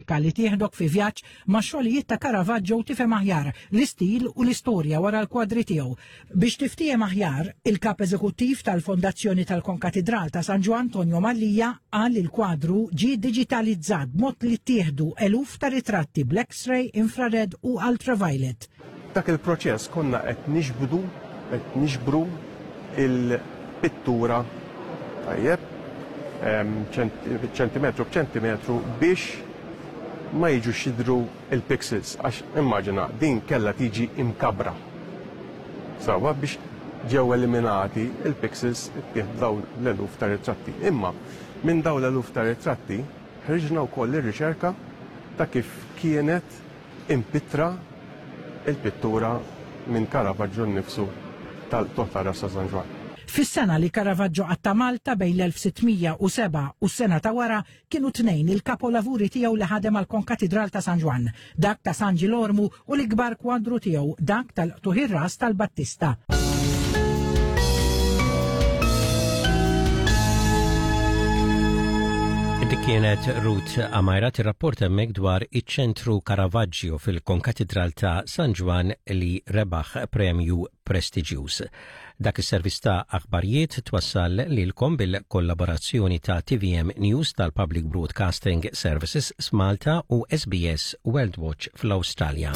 Riċerka li tieħdok fi vjaġġ ma' xogħlijiet ta' Caravaggio u tifhem aħjar l-istil u l-istorja wara l-kwadri tiegħu. Biex tiftiehem aħjar, il-Kap Eżekuttiv tal-Fondazzjoni tal-Konkatidral ta' San Ġwann Tonio Mallia qal li l-kwadru ġie diġitalizzat b'mod li ttieħdu eluf ta' ritratti bl-X-ray, infrared u ultraviolet. F'dak il-proċess konna qed niġbdu, qed niġbru l-pittura tajjeb, ċentimetru b'ċentimetru biex ma jiġux jidhru l-pixels għax immaġina din kellha tiġi imkabbra. Sewwa biex ġew eliminati l-pixels ittieħdu dawn l-eluf ta' ritratti. Imma minn dawn l-eluf ta' ritratti ħriġna wkoll ir-riċerka ta' kif kienet impittra l-pittura minn Caravaggio nnifsu tal-qtugħ tar-ras ta' San Ġwann. Fis-sena li Caravaggio qatta' Malta bejn l-1607 u s-sena ta' wara Kienu tnejn il-kapolavuri tiegħu li ħadem għall-Konkatidral ta' San Ġwann, dak ta' San Ġilormu u l-ikbar kwadru tiegħu, dak tal-qtugħ ir-ras tal-Battista. Dik kienet Ruth Amajra tirrapporta hemmhekk dwar iċ-ċentru Caravaggio fil-Konkatidral ta' San Ġwann li rebaħ premju prestiġjuż. Dak is-servizz ta' aħbarijiet twassal lilkom bil-kollaborazzjoni ta' TVM News tal-Public Broadcasting Services f'Malta u SBS World Watch fl-Awstralja.